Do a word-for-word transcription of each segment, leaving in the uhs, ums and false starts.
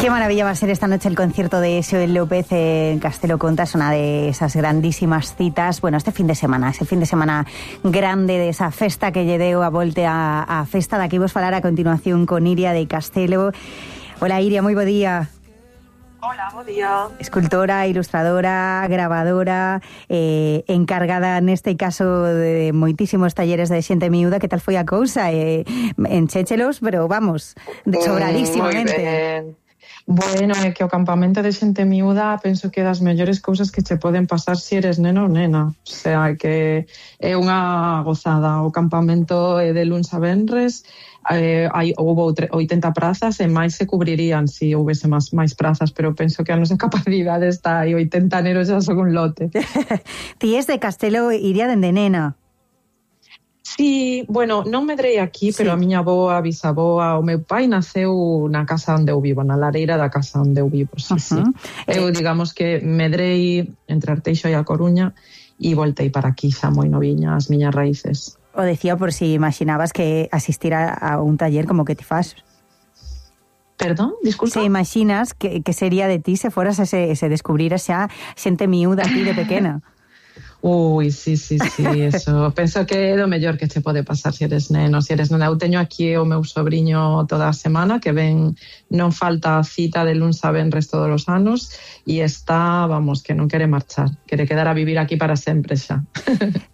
Qué maravilla va a ser esta noche el concierto de Xoel López en Castelo Conta. Es una de esas grandísimas citas. Bueno, este fin de semana, ese fin de semana grande de esa festa que lle deu a volte a, a festa. Daqui vos falar a continuación con Iria de Castelo. Hola Iria, moi bo día. Hola, bo día. Escultora, ilustradora, grabadora, eh, encargada neste caso de moitísimos talleres de xente miúda. Que tal foi a cousa? Eh, enchéchelos, pero vamos, de sobradísimamente. Moi ben. Bueno, é que o campamento de xente miúda penso que é das mellores cousas que che poden pasar se eres neno ou nena. O sea, que é unha gozada. O campamento é de luns a venres, eh, hai, houve oitenta prazas e máis se cubrirían se si houvese máis, máis prazas, pero penso que a nosa capacidade está aí, oitenta nenos xa son un lote. Ti es de Castelo, Iria, dende nena. Sí, bueno, non medrei aquí, sí. Pero a miña avoa, a bisaboa, o meu pai naceu na casa onde eu vivo, na lareira da casa onde eu vivo, sí, uh-huh. sí. Eu, digamos que medrei entre Arteixo e a Coruña e voltei para aquí xa moi noviña, as miñas raíces. O decía por si imaginabas que asistir a, a un taller como que ti fas. Perdón, disculpa. Se imaginas que, que sería de ti se foras ese, ese descubrir xa xente miúda aquí de pequena? Ui, sí, sí, sí, eso. Penso que é do mellor que che pode pasar se eres neno, se eres nena. Eu teño aquí o meu sobrinho toda a semana, que ven, non falta cita de luns a venres todos os anos, e está, vamos, que non quere marchar, quere quedar a vivir aquí para sempre xa.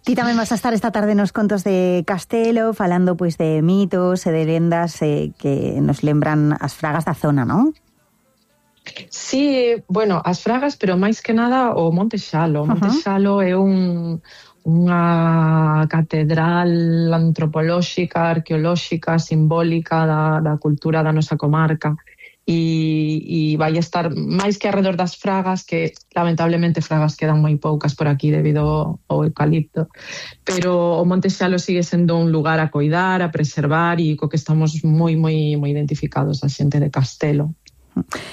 Ti tamén vas a estar esta tarde nos contos de Castelo, falando pois de mitos e de lendas eh, que nos lembran as fragas da zona, non? Sí, bueno, as fragas, pero máis que nada o Monte Xalo. O Monte Xalo é un, unha catedral antropolóxica, arqueolóxica, simbólica da, da cultura da nosa comarca. E, e vai estar máis que alrededor das fragas, que lamentablemente fragas quedan moi poucas por aquí debido ao eucalipto, pero o Monte Xalo sigue sendo un lugar a coidar, a preservar, e co que estamos moi, moi, moi identificados a xente de Castelo.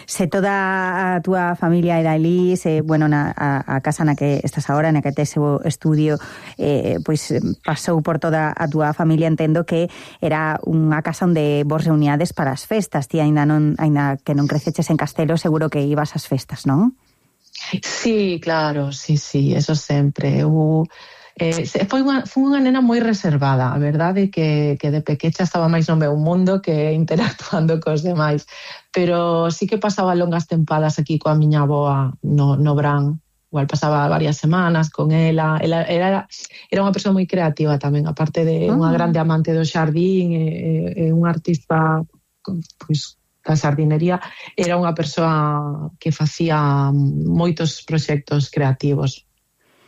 Se toda a túa familia era ali, se, bueno, na, a, a casa na que estás agora, na que tes o estudio, eh, pois pasou por toda a túa familia, entendo que era unha casa onde vos reuníades para as festas. Ti aínda non, aínda que non creceches en Castelo, seguro que ibas ás festas, non? Sí, claro, sí, sí, eso sempre. Eu... Eh, foi, unha, foi unha nena moi reservada, a verdade que, que de pequecha estaba máis no meu mundo que interactuando cos demais, pero sí que pasaba longas tempadas aquí coa miña avoa no, no Brán. Igual pasaba varias semanas con ela. Ela era, era unha persoa moi creativa tamén, aparte de unha grande amante do xardín e, e un artista pois, da xardinería, era unha persoa que facía moitos proxectos creativos.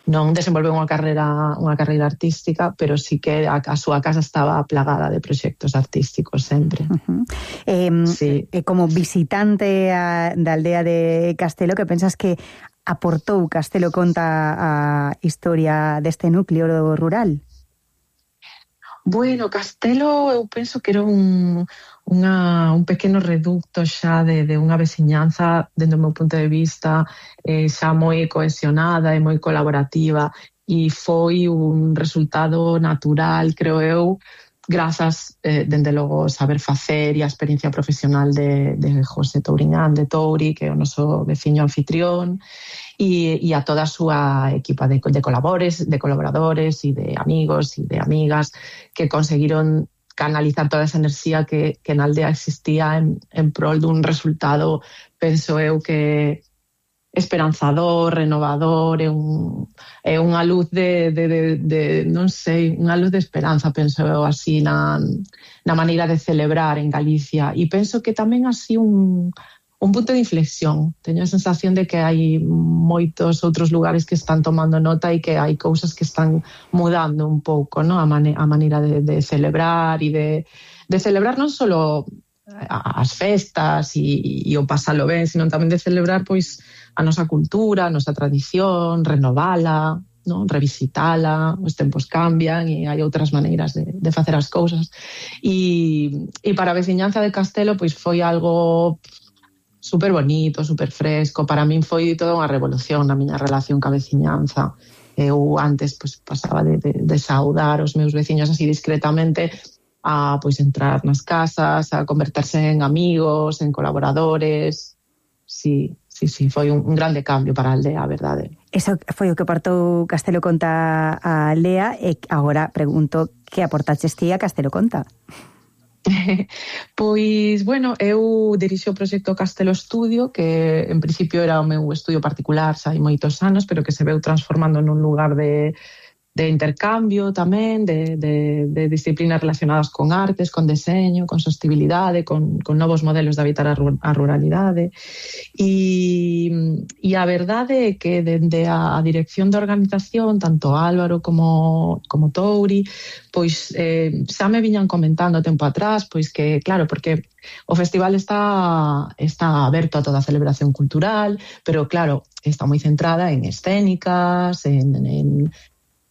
Non desenvolveu unha carreira unha carreira artística, pero sí que a, a súa casa estaba plagada de proxectos artísticos sempre. Uh-huh. Eh, sí. eh, como visitante a, da aldea de Castelo, que pensas que aportou Castelo Conta a historia deste núcleo rural? Bueno, Castelo eu penso que era un, unha, un pequeno reducto xa de, de unha veciñanza, dentro do meu punto de vista, eh, xa moi cohesionada e moi colaborativa, e foi un resultado natural, creo eu, grazas, eh, dende logo, saber facer e a experiencia profesional de, de José Touriñán de Touri, que é o noso veciño anfitrión, e, e a toda a súa equipa de, de, colabores, de colaboradores e de amigos e de amigas que conseguiron canalizar toda esa enerxía que, que na aldea existía en, en prol dun resultado, penso eu, que esperanzador, renovador, é, un, é unha luz de, de, de, de, non sei, unha luz de esperanza, penso eu, así, na, na maneira de celebrar en Galicia. E penso que tamén así un, un punto de inflexión. Teño a sensación de que hai moitos outros lugares que están tomando nota e que hai cousas que están mudando un pouco, ¿no? a, mane, a maneira de, de celebrar e de, de celebrar non só as festas e, e o pasalo ben, sino tamén de celebrar pois a nosa cultura, a nosa tradición, renovala, ¿no? Revisitala, os tempos cambian e hai outras maneiras de, de facer as cousas. E, e para a veciñanza de Castelo pois foi algo super bonito, super fresco. Para min foi toda unha revolución na miña relación ca veciñanza. Eu antes pois, pasaba de, de, de saudar os meus veciños así discretamente a pois entrar nas casas, a converterse en amigos, en colaboradores, sí, sí, sí, foi un, un grande cambio para a aldea, a verdade. Eso foi o que aportou Castelo Conta a aldea e agora pregunto que aportaches ti a Castelo Conta? Pois, bueno, eu dirixo o proxecto Castelo Estudio, que en principio era o meu estudio particular xa hai moitos anos, pero que se veu transformando nun lugar de, de intercambio tamén, de, de, de disciplinas relacionadas con artes, con deseño, con sostenibilidade, con, con novos modelos de habitar a, a ruralidade. E, e a verdade é que dende a, a dirección da organización, tanto Álvaro como, como Touri, pois eh, xa me viñan comentando tempo atrás, pois que, claro, porque o festival está, está aberto a toda a celebración cultural, pero claro, está moi centrada en escénicas, en, en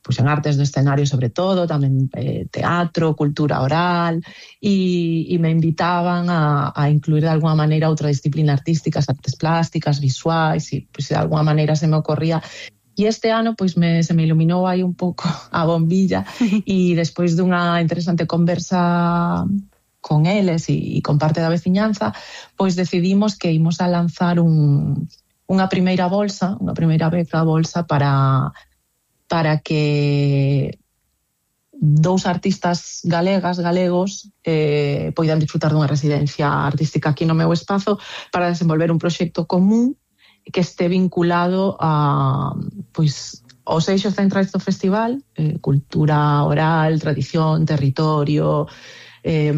pois en artes do escenario sobre todo, tamén eh, teatro, cultura oral, e, e me invitaban a, a incluir de alguma maneira outra disciplina artística, as artes plásticas, visuais, e pois de alguma maneira se me ocorría. E este ano pois me, se me iluminou aí un pouco a bombilla e despois dunha interesante conversa con eles e, e con parte da veciñanza, pois decidimos que imos a lanzar un, unha primeira bolsa, unha primeira beca bolsa para... para que dous artistas galegas, galegos, eh, poidan disfrutar dunha residencia artística aquí no meu espazo para desenvolver un proxecto común que este vinculado a, pois, aos eixos centrais do festival, eh, cultura oral, tradición, territorio, eh,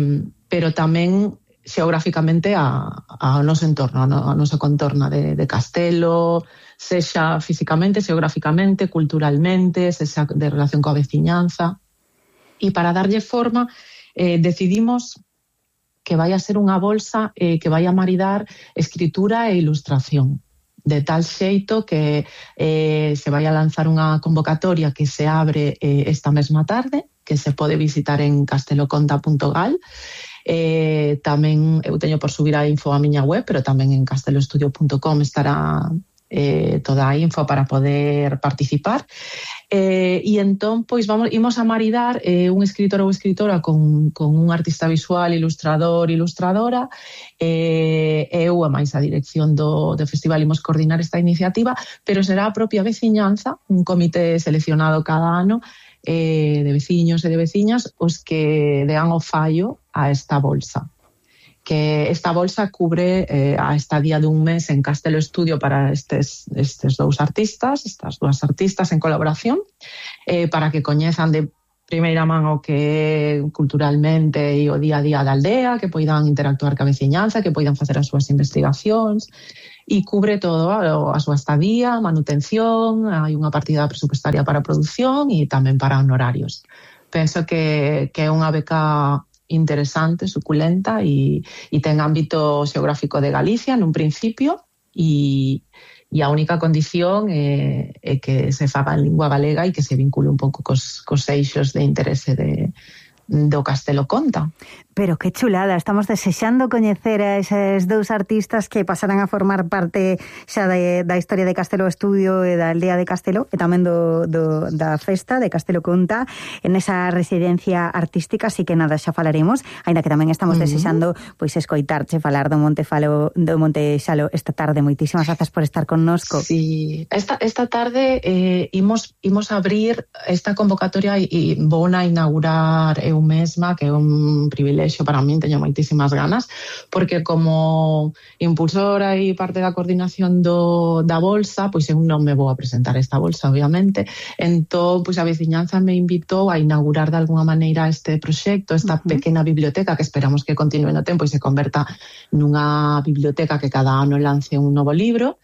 pero tamén xeográficamente a, a noso entorno, a nosa contorna de, de Castelo, sexa físicamente, xeográficamente, culturalmente, sexa de relación coa veciñanza. E para darlle forma, eh, decidimos que vai a ser unha bolsa eh, que vai a maridar escritura e ilustración, de tal xeito que eh, se vai a lanzar unha convocatoria que se abre eh, esta mesma tarde, que se pode visitar en casteloconta punto gal. Eh, tamén eu teño por subir a info a miña web, pero tamén en casteloestudio punto com estará eh, toda a info para poder participar. Eh, e entón, pois, vamos, imos a maridar eh, un escritor ou escritora con, con un artista visual, ilustrador, ilustradora, eh, eu a máis a dirección do, do festival imos coordinar esta iniciativa, pero será a propia veciñanza, un comité seleccionado cada ano, eh, de veciños e de veciñas, os que dean o fallo a esta bolsa. Que esta bolsa cubre eh, a estadía dun mes en Castelo Estudio para estes, estes dous artistas, estas dúas artistas en colaboración, eh, para que coñezan de primeira man o que culturalmente e o día a día da aldea, que poidan interactuar ca veciñanza, que poidan facer as súas investigacións, e cubre todo a, a súa estadía, manutención, hai unha partida presupuestaria para a produción e tamén para honorarios. Penso que, que é unha beca interesante, suculenta e, e ten ámbito xeográfico de Galicia nun principio e, e a única condición é, é que se faga en lingua galega e que se vincule un pouco cos, cos eixos de interese de, do Castelo Conta. Pero que chulada, estamos desexando coñecer a eses dous artistas que pasarán a formar parte xa de, da historia de Castelo Estudio e da aldea de Castelo e tamén do, do, da festa de Castelo Conta en esa residencia artística, así que nada, xa falaremos, ainda que tamén estamos uh-huh. desexando pois escoitarche falar do Monte Falo, do Monte Xalo esta tarde. Moitísimas grazas por estar connosco. Sí, esta, esta tarde eh, imos, imos abrir esta convocatoria e, e vou a inaugurar eu mesma, que é un privilexio para min, teño moitísimas ganas, porque como impulsora e parte da coordinación do, da bolsa, pois eu non me vou a presentar esta bolsa, obviamente, entón, pois a veciñanza me invitou a inaugurar de alguna maneira este proxecto, esta uh-huh. pequena biblioteca que esperamos que continue no tempo e se converta nunha biblioteca que cada ano lance un novo libro.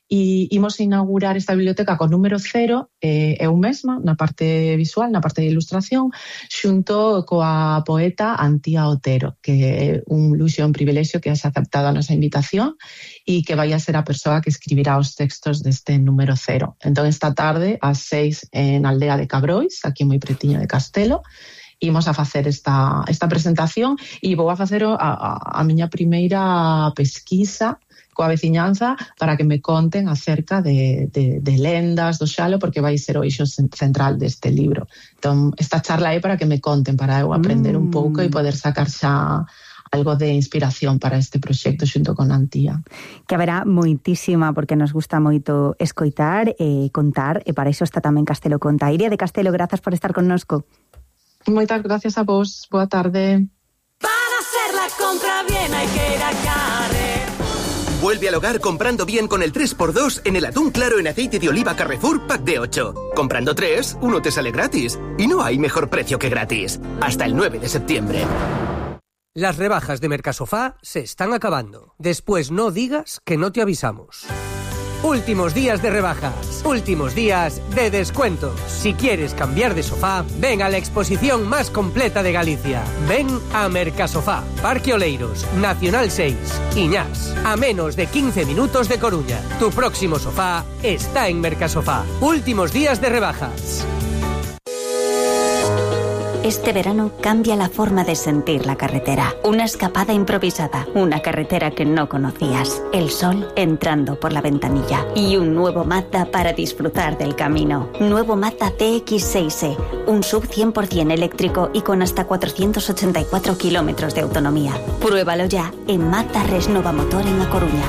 E imos inaugurar esta biblioteca con número cero, eh, eu mesma, na parte visual, na parte de ilustración, xunto coa poeta Antía Otero, que é un luxo e un privilexio que has aceptado a nosa invitación e que vai a ser a persoa que escribirá os textos deste número cero. Entón, esta tarde, ás seis, en Aldea de Cabrois, aquí moi pretiño de Castelo, imos a facer esta, esta presentación e vou a facer a, a, a miña primeira pesquisa coa veciñanza para que me conten acerca de, de, de lendas do Xalo, porque vai ser o eixo central deste libro. Entón, esta charla é para que me conten, para eu aprender mm. un pouco e poder sacar xa algo de inspiración para este proxecto xunto con Antía. Que haberá moitísima, porque nos gusta moito escoitar e contar, e para iso está tamén Castelo Conta. Iria de Castelo, grazas por estar connosco. Moitas gracias a vos, boa tarde. Para hacer la compra bien hay que ir a Carrer. Vuelve al hogar comprando bien con el tres por dos en el atún claro en aceite de oliva Carrefour Pack de ocho. Comprando tres, uno te sale gratis. Y no hay mejor precio que gratis. Hasta el nueve de septiembre. Las rebajas de Mercasofá se están acabando. Después no digas que no te avisamos. Últimos días de rebajas, últimos días de descuentos. Si quieres cambiar de sofá, ven a la exposición más completa de Galicia. Ven a Mercasofá, Parque Oleiros, Nacional seis, Iñás, a menos de quince minutos de Coruña. Tu próximo sofá está en Mercasofá. Últimos días de rebajas. Este verano cambia la forma de sentir la carretera. Una escapada improvisada, una carretera que no conocías, el sol entrando por la ventanilla y un nuevo Mazda para disfrutar del camino. Nuevo Mazda C X seis E, un sub cien por ciento eléctrico y con hasta cuatrocientos ochenta y cuatro kilómetros de autonomía. Pruébalo ya en Mazda Resnova Motor en A Coruña.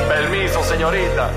Permiso, señorita.